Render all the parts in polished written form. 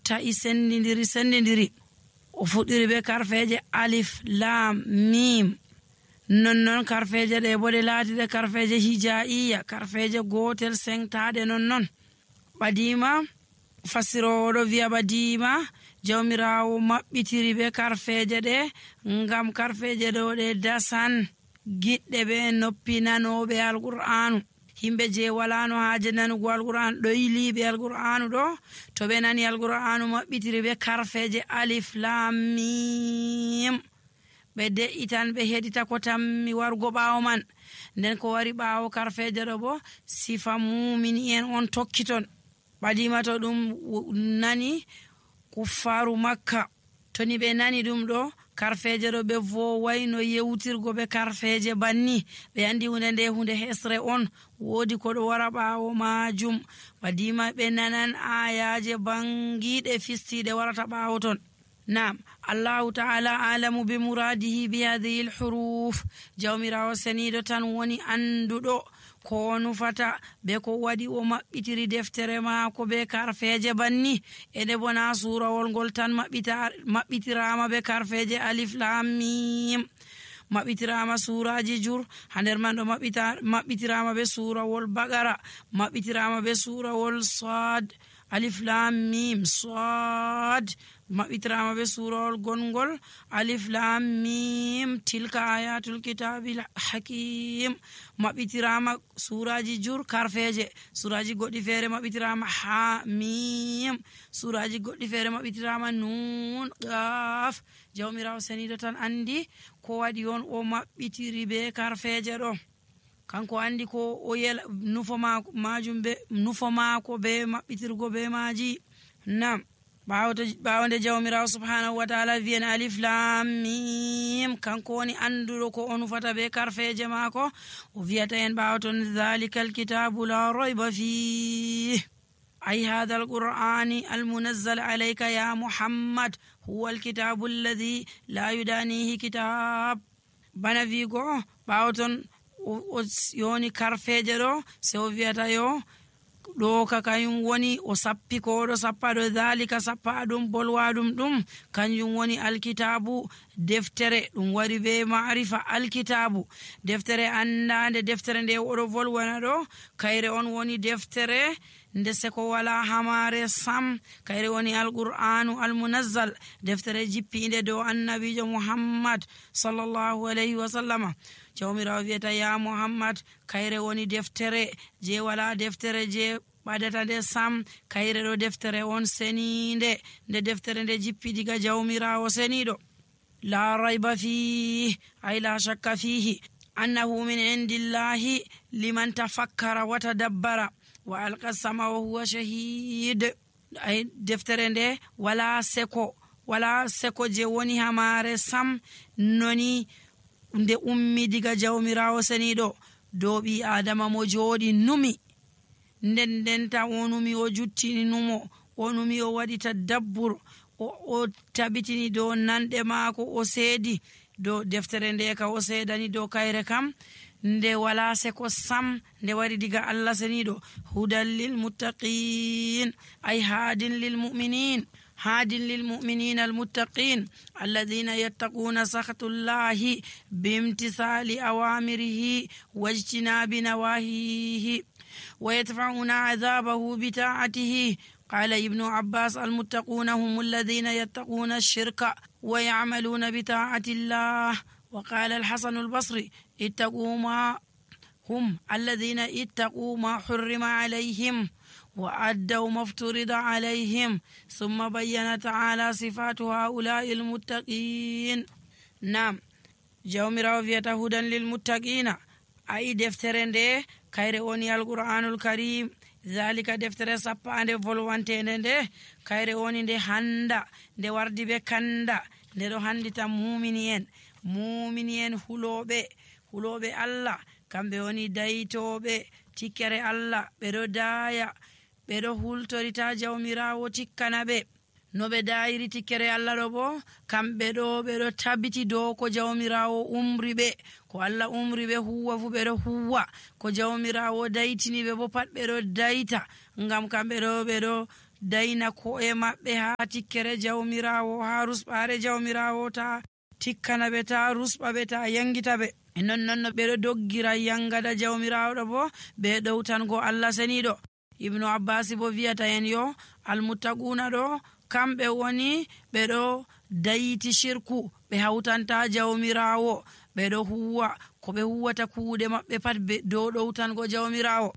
ta'i sendidiri o fuɗɗiri be karfeje alif lam mim. Non karfeje ɗe bo ɗe laatiɗe karfeje hijaiya, karfeje gotel sengtaɗe non. ɓadima fasirowo ɗo wi'a ɓadima jawmirawo maɓɓitiri be karfeje ɗe ngam karfeje ɗo ɗe dasan giɗɗe be noppi nanoɓe alqur'anu. himɓe je walano haaje nanugo alqur'anu ɗo yiliɓe alqur'anu ɗo to ɓe nani alqur'anu maɓɓitiri be karfeje alif lam mim ɓe de'itan ɓe heɗita ko tammi wargo ɓawo man. nden ko wari ɓawo karfeje ɗo bo sifa mumini en on tokkiton. ɓadima to ɗum nani kuffaru makka toni ɓe nani ɗum ɗo karfeje ɗo ɓe vowai no yewtirgo be karfeje banni. ɓe andi hunde hesre on, woodi ko ɗo wara ɓawo majum. ɓadima ɓe nanan ayaje bangiɗe fistiɗe warata ɓawo ton. Naam, Allahu ta'ala alamu bi muradihi bi hadhihi al-huruf. jawmirawo senido tan woni anduɗo ko nufata be ko waɗi o maɓɓitiri deftere maako be karfeje banni. ede bona surawol ngol tan maɓɓitirama be karfeje alif lam mim. maɓɓitirama suraji jur ha nder man ɗo maɓɓitirama be surawol bagara, maɓɓitirama be surawol sad alif lam mim sad, maɓɓitirama be surawol gongol alif lam mim tilka ayatul kitabil hakim. maɓɓitirama suraji jur karfeje, suraji goɗɗi feere maɓɓitirama ha mim, suraji goɗɗi feere maɓɓitirama nun qaf. jawmirawo senido tan andi ko waɗi on o maɓɓitiri be karfeje ɗo. kanko andi ko o yela nufo maako be maɓɓitirgo be maji. nam ɓawde jawmirawo subhanahu wa ta'ala wiyen alif lam mim kanko woni anduɗo ko o nufata be karfeje maako. o wiyata en ɓawaton dhalika alkitabu la rayba fih ay hadha alqur'ani almunazzal alayka ya muhammad huwa alkitabu alladhi la yudanihi kitab. bana wigo ɓawaton o yoni karfeje ɗo se o wiyata yo ɗo ka kayum woni o sappi ko ɗo sappa ɗo dhalika sappa ɗum bolwa ɗum kanjum woni alkitabu deftere. ɗum wari be ma'rifa alkitabu deftere andande. deftere nde oɗo volwana ɗo kayre on woni deftere nde seko wala hamare sam, kayre woni alqur'anu almunazzal, deftere jippinde dow annabijo muhammad sallallahu alayhi wa sallama. jawmirawo wiyata ya muhammad kayre woni deftere je wala deftere je ɓadata nde sam, kayre ɗo deftere on seninde, nde deftere nde jippi diga jawmirawo seniɗo. la rayba fihi ay la shakka fihi annahu min indillahi liman tafakkara wa tadabbara wa alqa sama wa huwa shahid. ay deftere nde wala seko je woni hamare sam noni nde ummi diga jawmirawo seniɗo dow ɓi adama mo jooɗi numi. ndenta o numi o juttini numo, o numi o waɗi tadabbur, o tabitini dow nanɗe maako, o seedi dow deftere nde ka o seedani dow kayre kam nde wala seko sam, nde wari diga Allah seniɗo. hudan lil muttaqin ay hadin lil mu'minin almuttaqin alladhina yattaquna sakhatullahi bimtisali awamirihi wajtinabi nawahihi wa yadfa'una 'adhabahu bita'atihi. قال ابن عباس المتقون هم الذين يتقون الشرك ويعملون بطاعة الله. وقال الحسن البصري اتقوا ما هم الذين اتقوا ما حرم عليهم وأدوا ما افترض عليهم. ثم بين تعالى صفات هؤلاء المتقين. نعم jawmirawo wiyata hudan lilmuttaqina ayi deftere nde kayre woni alqur'anul karim. zalika deftere sappande volwantende nde kayre woni nde handa nde wardi be kanda, nde ɗo handita mumini en huloɓe Allah, kamɓe woni dayitoɓe tikkere Allah. ɓeɗo daya ɓeɗo hultorita jawmirawo tikkana ɓe no ɓe dayiri tikkere Allah ɗo bo kamɓe ɗo ɓeɗo tabbiti dow ko jawmirawo umri ɓe, ko Allah umri ɓe huwa fu ɓeɗo huwa, ko jawmirawo daytini ɓe bo pat ɓeɗo dayta, ngam kamɓe ɗo ɓeɗo dayna ko'e maɓɓe ha tikkere jawmirawo, ha rusɓare jawmirawo, ta tikkana ɓe, ta rusɓa ɓe, ta yangita ɓe. Non no ɓeɗo doggira yangada jawmirawo ɗo bo ɓe ɗowtango Allah seniɗo. Ibnu Abbas bo wiyata en yo almuttaquna ɗo kamɓe woni ɓeɗo dayiti shirku, ɓe hawtanta jawmirawo, ɓeɗo huwa ko ɓe huwata kuuɗe maɓɓe pat dow ɗowtango jawmirawo.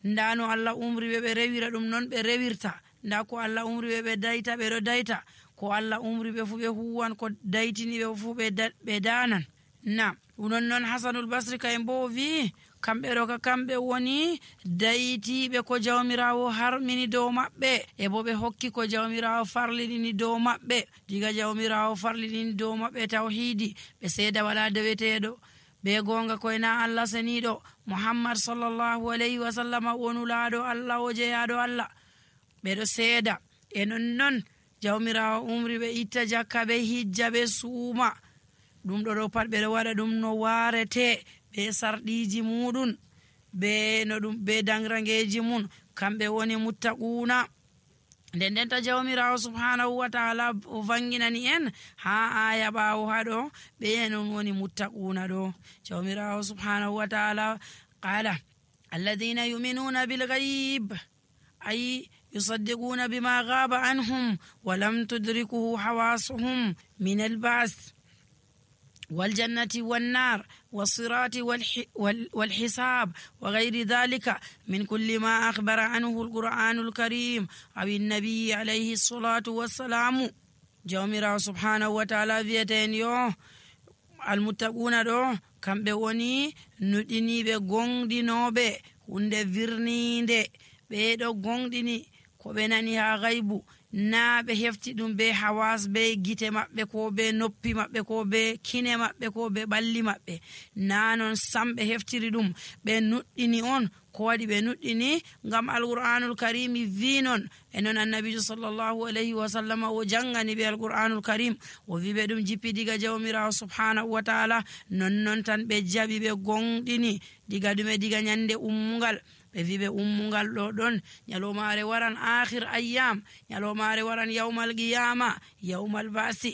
nda no Allah umri ɓe rewira ɗum non ɓe rewirta, nda ko Allah umri ɓe dayta ɓeɗo dayta, ko Allah umri ɓe fu ɓe huwan, ko daytini ɓe fu ɓe danan. na non Hasanul Basri kayem bo wi kamɓe ɗo ka kamɓe woni daytiɓe ko jawmirawo harmini dow maɓɓe, e bo ɓe hokki ko jawmirawo farliɗini dow maɓɓe. diga jawmirawo farliɗini dow maɓɓe tawhidi, ɓe seeda wala deweteɗo, be gonga koyna Allah seniɗo Muhammad sallallahu alayhi wa sallam wonulaɗo Allah o jeyaɗo Allah, ɓeɗo seeda. e non jawmirawo umri ɓe itta jakka, ɓe hijja, ɓe suuma. ɗum ɗo pat ɓeɗo waɗa ɗum no warete, be sarɗiji muɗum, be no ɗum be dangrangeji mum, kamɓe woni muttaquna. nden ta jawmirawo subhanahu wa ta'ala o vanginani en ha aya ɓawo haɗo, ɓe non woni muttaquna ɗo. jawmirawo subhanahu wa ta'ala qala alladhina yu'minuna bil ghaib, ay yusaddiquna bima ghaba anhum wa lam tudrikuhu hawasuhum min al-ba'th والجنة والنار والصراط والحساب وغير ذلك من كل ما أخبر عنه القرآن الكريم أو النبي عليه الصلاة والسلام. جوميرا سبحانه وتعالى فيتين يو المتقون دو كم بوني نديني بغوندي نوبي hunde virninde ɓeɗo gonɗini ko ɓe nani ha gaybu, na ɓe hefti ɗum be hawas, be gite maɓɓe, ko be noppi maɓɓe, ko be kine maɓɓe, ko be ɓalli maɓɓe, na non sam ɓe heftiri ɗum. ɓe nuɗɗini on, ko waɗi ɓe nuɗɗini ngam alqur'anul karimi wi non. e non annabijo sallllahu alayhi wa sallam o jangani ɓe alqur'anul karim, o wi ɓe ɗum jippi diga jawmirawo subhanahu wa ta'ala. non tan ɓe jaɓi, ɓe gonɗini diga ɗume, diga nyande ummugal. ɓe wi ɓe ummugal ɗo ɗon nyalomare waran akhir ayyam, nyalomare waran yawmal qiyama, yawmal basi.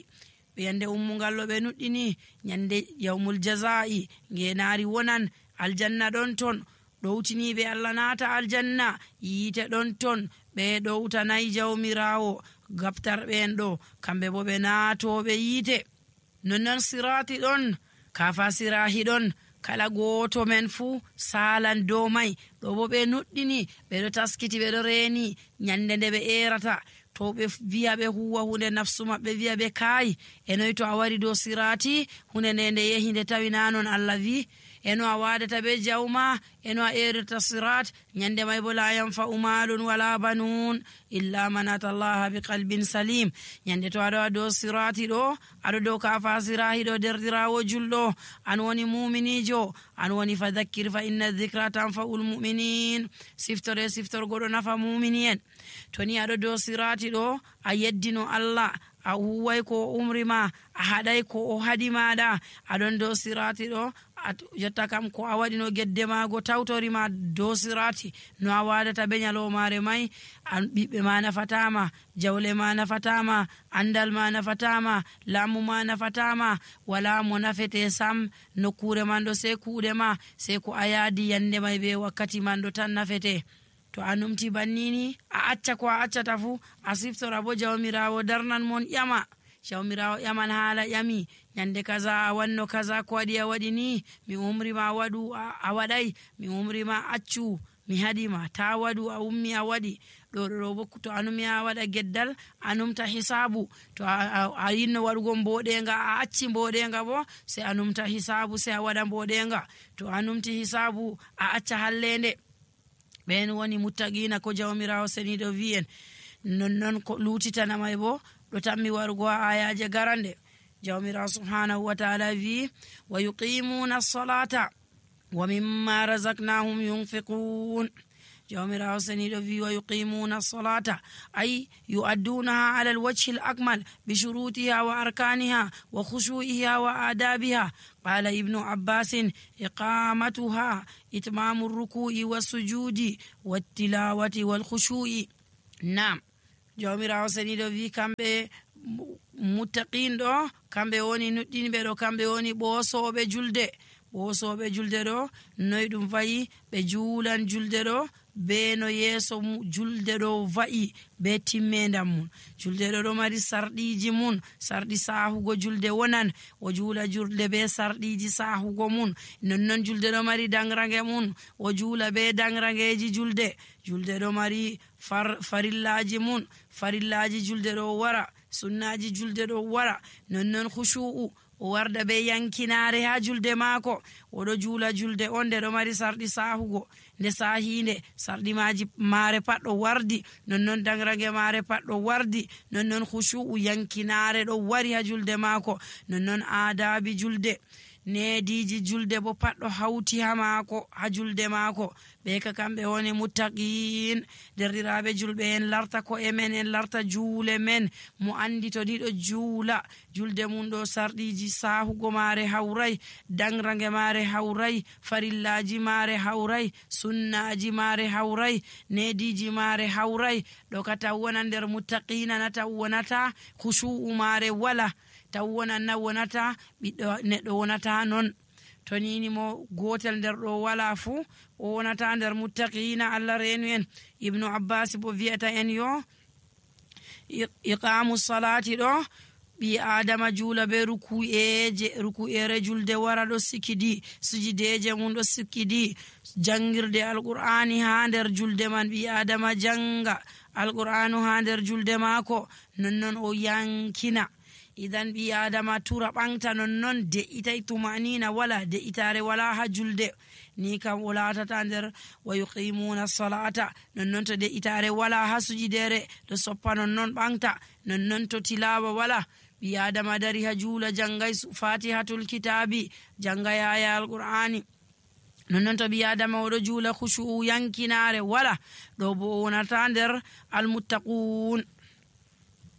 ɓe yande ummugal ɗo ɓe nuɗɗini nyande yawmul jazai, ngenari wonan, aljanna ɗon ton, ɗowtiniɓe Allah naata aljanna, yiite ɗon ton, ɓe ɗowtanayi jawmirawo. gabtarɓe en ɗo kamɓe bo ɓe naatoɓe yiite. nonnon sirati ɗon, kafa sirahi ɗon, kala goto men fuu salan dow mai. ɗo bo ɓe nuɗɗini, ɓeɗo taskiti, ɓeɗo reeni nyande nde ɓe erata. to ɓe wiya ɓe huwa hunde, nafsu maɓɓe wiya ɓe kaayi, enoyi to a wari dow sirati hunde nde yehi nde tawi nanon Allah wi, eno a wadata be jawma, eno a erata sirat, nyande may bo la yanfa'u malun wala banun illa man atallaha bi qalbin salim. nyande to aɗo dow sirati ɗo, aɗo dow kafa sirahi ɗo, derdirawo julɗo, an woni muminijo, an woni fadhakkir fa inna dhikra tanfa'ul mu'minin. siftorgo ɗo nafa mumini en. to ni aɗo dow sirati ɗo, a yeddino Allah, a huway ko umrima, a haɗay ko o haɗi maɗa, aɗon dow sirati ɗo, jotta kam ko a waɗino gedde mago tawtorima dow sirati, no a wadata be nyalomare may, an ɓiɓɓe ma nafatama, jawle ma nafatama, andal ma nafatama, laamu ma nafatama, wala mo nafete sam. nokkure man ɗo sei kuuɗe ma, sei ko a yaadi yande may be wakkati man ɗo tan nafete. to a numti bannini, a acca ko a accata fu, a siftora bo jawmirawo darnan mon ƴama. jawmirawo ƴaman haala ƴami, nyande kaza a wanno kaza, ko waɗi a waɗi ni, mi umrima waɗu a waɗay, mi umrima accu mi haɗima, ta waɗu a ummi a waɗi. ɗo bo to anumi a waɗa geddal, a numta hisabu. to a yinno waɗugo mboɗenga, a acci mboɗenga bo, se a numta hisabu, se a waɗa mboɗenga. to a numti hisabu, a acca hallende. ɓen woni muttaqina ko jawmirawo seniɗo wi'en. nonnon ko lutitana may bo ɗo tammi warugo ha ayaje garande. jawmirawo subhanahu wa ta'ala wi wa yuqimuna as-salata wa mimma razaqnahum yunfiqun. jawmirawo seniɗo wi wa yuqimuna as-salata, ay yu'addunaha ala al-wajhi al-akmal bi shurutiha wa arkaniha wa khushu'iha wa adabiha. قال ابن عباس إقامتها إتمام الركوع والسجود والتلاوة والخشوع. نعم jawmirawo seniɗo wi kamɓe muttaqin ɗo kamɓe woni nuɗɗinɓe ɗo kamɓe woni ɓoosoɓe julde ɗo noyi ɗum wayi ɓe juulan julde ɗo be no yeeso julde ɗo wa'i be timmendam mum. Julde ɗo mari sarɗiji mun, sarɗi sahugo julde wonan o juula julde be sarɗiji sahugo mun. Nonnon julde ɗo mari dangrange mun o juula be dangrangeji julde ɗo mari farillaji mun, farillaji julde ɗo wara, sunnaji julde ɗo wara. Nonnon khushu'u o warda be yankinare ha julde maako. Oɗo juula julde on nde ɗo mari sarɗi sahugo, nde sahinde sarɗi mare pat ɗo wardi, nonnon dangrange mare pat ɗo wardi, nonnon khushu'u yankinare ɗo wari ha julde maako. Nonnon aadabi julde, neediji julde bo pat ɗo hauti ha maako, ha julde maako. Ɓe ka kamɓe woni muttaqin. Derɗiraɓe julɓe en larta ko'e men, en larta juule men. Mo andi to ni ɗo juula julde mum ɗo sarɗiji sahugo mare haurai, dangrange mare haurai, farillaji mare haurai, sunnaji mare haurai, neediji mare haurai. Ɗo ka taw wona nder muttaqina na taw wonata khushu'u mare wala, taw wona na wonata ɓiɗɗo neɗɗo wonata non. To nini mo gotel nder ɗo wala fuu o wonata nder muttaqina. Allah reenu en. Ibnu Abbas bo wi'ata en yo iqamu salati ɗo ɓi adama juula be ruku'ere julde wara ɗo sikidi, sujideje mum ɗo sikidi, jangirde alqur'ani ha nder julde man. Ɓi adama janga alqur'anu ha nder julde maako, nonnon o yankina. Idan ɓi adama tura ɓangta nonnon de'itay tumanina wala, de'itare wala ha julde ni kam o latata nder wa yuqimuna salata. Nonnon to de'itare wala ha sujidere ɗo soppa nonnon ɓangta, nonnon to tilawa wala. Ɓi adama dari ha juula jangay fatihatul kitabi, jangay aya alqur'ani, nonnon to ɓi adama oɗo juula khushu'u yankinare wala, ɗo bo o wonata nder almuttaqun.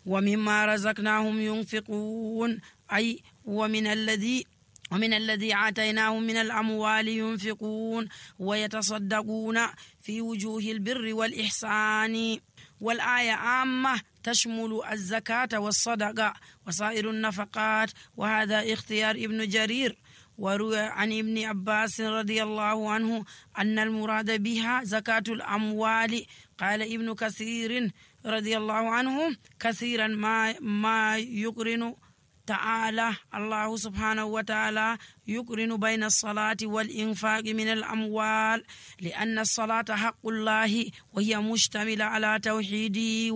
ومما رزقناهم ينفقون أي ومن الذي آتيناهم من الأموال ينفقون ويتصدقون في وجوه البر والإحسان. والآية عامة تشمل الزكاة والصدقة وسائر النفقات، وهذا اختيار ابن جرير. وروى عن ابن عباس رضي الله عنه أن المراد بها زكاة الأموال. قال ابن كثير رضي الله عنه كثيرا ما يقرن تعالى الله سبحانه وتعالى يقرن بين الصلاة والإنفاق من الأموال، لأن الصلاة حق الله وهي مشتملة على توحيده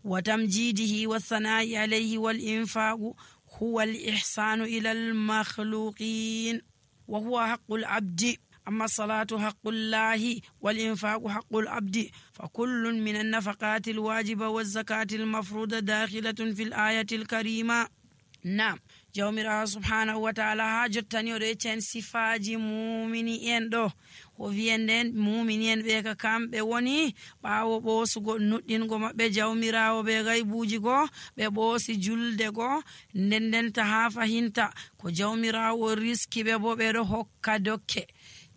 وتمجيده والثناء عليه، والإنفاق هو الإحسان إلى المخلوقين وهو حق العبد. أما الصلاة حق الله والإنفاق حق العبد، فكل من النفقات الواجبة والزكاة المفروضة داخلة في الآية الكريمة. نعم jawmirawo subhanahu wa ta'ala ha jottani o recen sifaji mumini en ɗo o wiyenden mumini en ɓe ka kamɓe woni ɓawo ɓosugo nuɗɗingo maɓɓe jawmirawo ɓe gaybuji go ɓe ɓoosi julde go ndendenta ha fahinta ko jawmirawo riski ɓe bo ɓeɗo hokka dokke.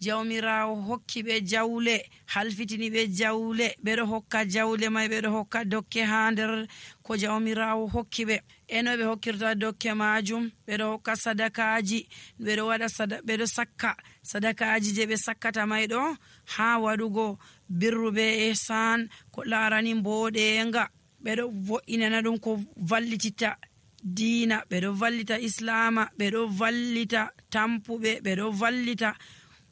jawmirawo hokki ɓe jawle, halfitini ɓe jawle, ɓeɗo hokka jawle may, ɓeɗo hokka dokke ha nder ko jawmirawo hokki ɓe. eno ɓe hokkirta dokke majum ɓeɗo hokka sadakaji, ɓeɗo sakka sadakaji je ɓe sakkata may ɗo ha waɗugo birru be ihsan ko larani mboɗenga. ɓeɗo vo'inana ɗum ko vallititta diina, ɓeɗo vallita islama, ɓeɗo vallita tampuɓe, ɓeɗo vallita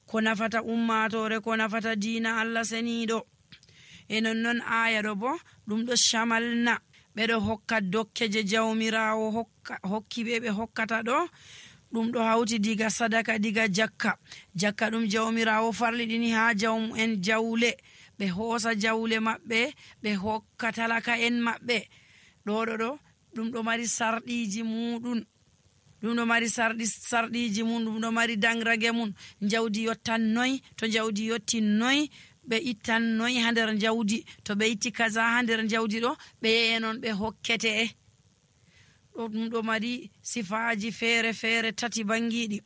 ko nafata ummatore, ko nafata diina Allah seniɗo. E nonnon aya ɗo bo ɗum ɗo shamalna ɓeɗo hokka dokke je jawmirawo hokki ɓe hokkata ɗo. ɗum ɗo hauti diga sadaka, diga jakka ɗum jawmirawo farliɗini ha jawmu'en jawle, ɓe hoosa jawle maɓɓe ɓe hokka talaka en maɓɓe. ɗo ɗum ɗo mari sarɗiji muɗum, ɗum ɗo mari sarɗiji mum, ɗum ɗo mari dangrage mum. jawdi yottan noy, to jawdi yotti noy ɓe ittan noy ha nder jawdi, to ɓe itti kaza ha nder jawdi ɗo ɓe yenon ɓe hokkete. ɗum ɗo mari sifaji feere feere tati bangiɗi.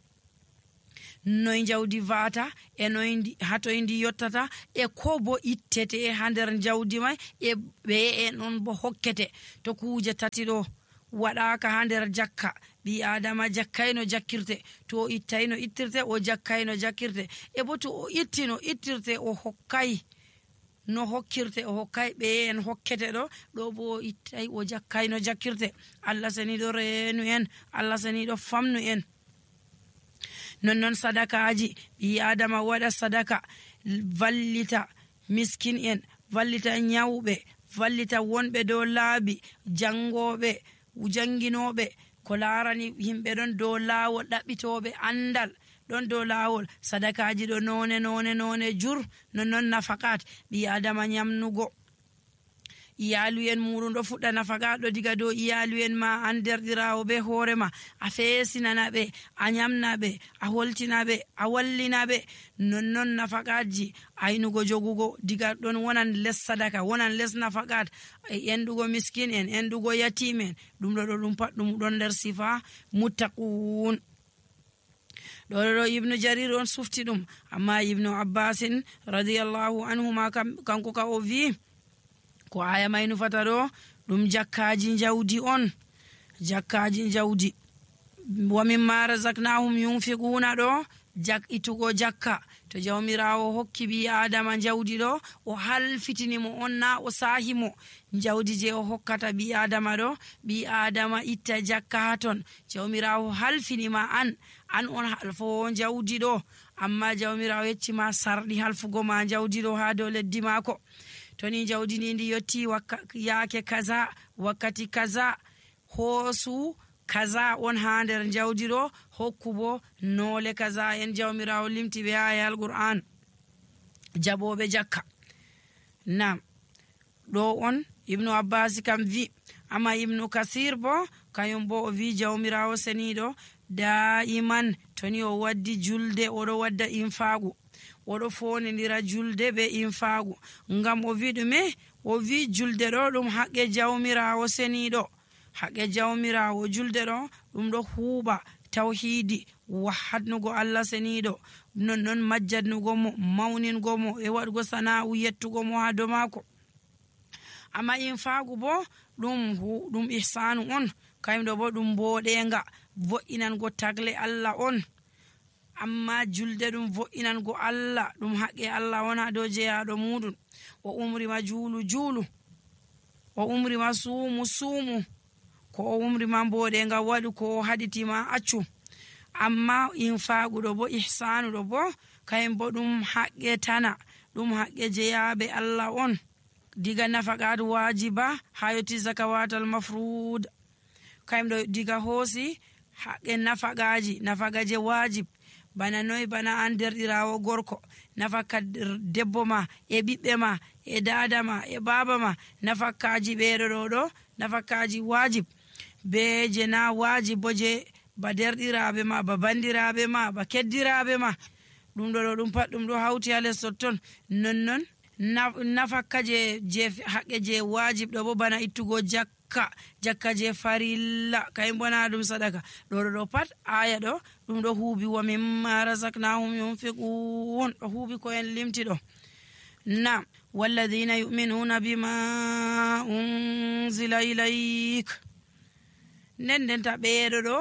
noye jawdi vata e noye hatoye ndi yottata e ko bo ittete ha nder jawdi may e ɓe en on bo hokkete to kuje tati ɗo waɗaka ha nder jakka ɓi adama jakkayno jakkirte to o ittayno ittirte o jakkayno jakkirte e bo to o ittino ittirte o hokkay no hokkirte o hokkay ɓe en hokkete ɗo bo o ittay o jakkayno jakkirte. Allah seniɗo reenu en, Allah seniɗo famnu en. nonnon sadakaji ɓi adama waɗa sadaka vallita miskin en, vallita nyawɓe, vallita wonɓe dow laabi, jangoɓe janginoɓe ko larani yimɓe ɗon dow laawol ɗaɓɓitoɓe andal ɗon dow laawol. sadakaji ɗo none jur nonnon nafakat ɓi adama nyamnugo iyalu en muɗum ɗo fuɗɗa nafaga ɗo diga dow iyalu en ma an derɗirawo be hoorema a feesinana ɓe a nyamna ɓe a holtina ɓe a wallina ɓe nonnon nafakaji aynugo jogugo diga ɗon wonan les sadaka wonan les nafakat enɗugo miskin en enɗugo yatimen ɗum ɗum pat ɗum ɗon nder sifa muttaqun. ɗo ibnu jarir on sufti ɗum amma ibnu abbasin radiyallahu anhuma kanko ka o wi ko aya may nufata ɗo ɗum jakkaji jawdi on, jakkaji jawdi. wa mimma razaqnahum yunfiquna ɗo itugo jakka to jawmirawo hokki ɓi adama jawdi ɗo o halfitinimo on na o sahimo jawdi je o hokkata ɓi adama ɗo ɓi adama itta jakka ha ton jawmirawo halfinima an on halfowo jawdi ɗo amma jawmirawo yeccima sarɗi halfugo ma jawdi ɗo ha dow leddi mako. toni jawdi ndi yotti yaake kaza wakkati kaza hoosu kaza on ha nder jawdi ɗo hokkubo noole kaza en jawmirawo limti ɓe aya alqur'an jaɓoɓe jakka. nam ɗo on ibnu abbas kam vi amma ibnu kasir bo kañum bo o vi jawmirawo seniɗo daiman toni o waddi julde oɗo wadda infagu oɗo fonidira julde be infagu ngam o wi ɗume o wi julde ɗo ɗum haqqe jawmirawo seniɗo haqqe jawmirawo julde ɗo ɗum ɗo huuɓa tawhidi wahadnugo Allah seniɗo nonnon majjadnugo mo mawningo mo e waɗugo sana'u yettugo mo ha dow mako. amma infagu bo ɗum ihsanu on kayumɗo bo ɗum boɗenga vo'inango tagle Allah on amma julde ɗum vo'inango Allah ɗum haqqe Allah wona dow jeyaɗo muɗum. o umrima juulu o umrima suumu ko o umrima mboɗenga waɗu ko o haɗitima accu. amma infaguɗo bo ihsanuɗo bo kayum bo ɗum haqqe tana ɗum haqqe jeyaɓe Allah on diga nafaqat wajiba ha yotti zakawatal mafrud kayum ɗo diga hoosi haqqe nafagaje wajib bana noy bana an derɗirawo gorko nafaka debbo ma e ɓiɓɓe ma e dada ma e baba ma nafakaji ɓeɗo ɗo nafakaji wajib be je na wajib bo je ba derɗiraɓe ma ba bandiraɓe ma ba keddiraɓe ma ɗum ɗo ɗum pat ɗum ɗo hawti ha les totton. nonnon nafaka je haqqe je wajib ɗo bo bana ittugo jakka je farilla kay bona ɗum sadaka ɗo pat aya ɗo ɗum ɗo huubi wa mimma razaqnahum yunfiqun ɗo huubi ko en limti ɗo. nam walladhina yu'minuna bima unzila ilayk nden ta ɓeeɗo ɗo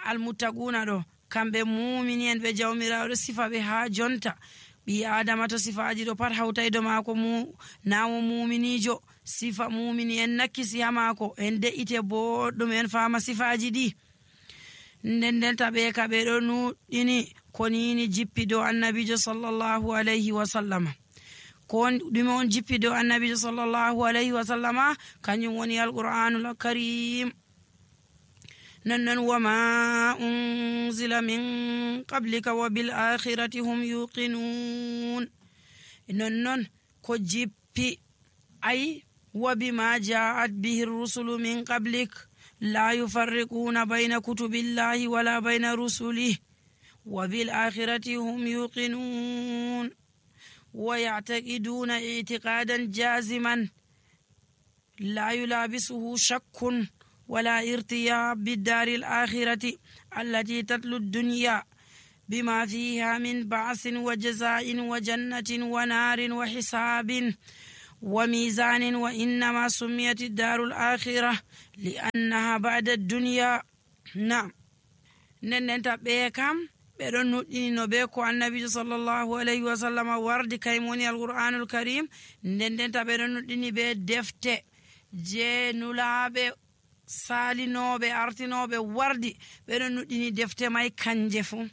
almuttaquna ɗo kamɓe mumini en ɓe jawmirawo ɗo sifa ɓe ha jonta ɓi adama to sifaji ɗo pat hawtaydo mako nawo muminijo sifa mumini en nakkisi ha mako en de'ite boɗɗum en fama sifaji ɗi nden ta ɓe ka ɓe ɗo nuɗɗini ko nini jippi dow annabijo sallallahu alayhi wa sallama ko ɗume on jippi dow annabijo sallallahu alayhi wa sallama kañum woni alqur'anul karim. nonnon wama unzila min qablika wa bil akhirati hum yuqinun nonnon ko jippi ay wa bima ja'at bihi rusulu min qablik la yufarriquna bayna kutubillahi wala bayna rusulihi wa bil akhirati hum yuqinun wa ya'taqiduna i'tiqadan jaziman la yulabisuhu shakkun ولا ارتياب بالدار الآخرة التي تتلو الدنيا بما فيها من بعث وجزاء وجنة ونار وحساب وميزان وإنما سميت الدار الآخرة لأنها بعد الدنيا. نعم ننتا بكم ɓeɗon nuɗɗinino be ko annabijo sallllahu alayhi wa sallam wardi kayum woni alqur'anul karim. ndendenta ɓeɗon nuɗɗini be defte je nulaɓe salinoɓe artinoɓe wardi. ɓeɗon nuɗɗini defte may kanje fuu.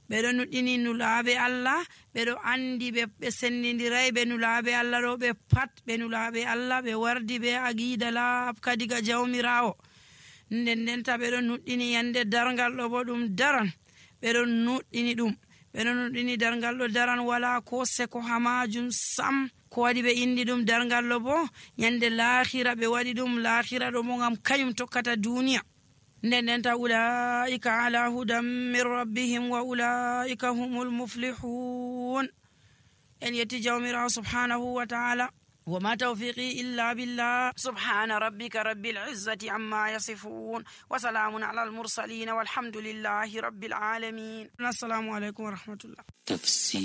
ɓeɗon nuɗɗini nulaɓe Allah, ɓeɗo andi ɓe sendidiray ɓe nulaɓe Allah ɗo ɓe pat ɓe nulaɓe Allah, ɓe wardi be aqida laabka diga jawmirawo. ndendenta ɓeɗon nuɗɗini yande dargal ɗo bo ɗum daran, ɓeɗon nuɗɗini dargal ɗo daran wala ko seko ha majum sam. ko waɗi ɓe indi ɗum dargal ɗo bo yande lahira, ɓe waɗi ɗum lahira ɗo mo gam kañum tokkata duniya. ndendenta ulaika ala hudan min rabbihim wa ulaika humul muflihun. en yetti jawmirawo subhanahu wa ta'ala. وما توفيقي إلا بالله. سبحان ربك رب العزة عما يصفون وسلام على المرسلين والحمد لله رب العالمين. السلام عليكم ورحمة الله. تفسير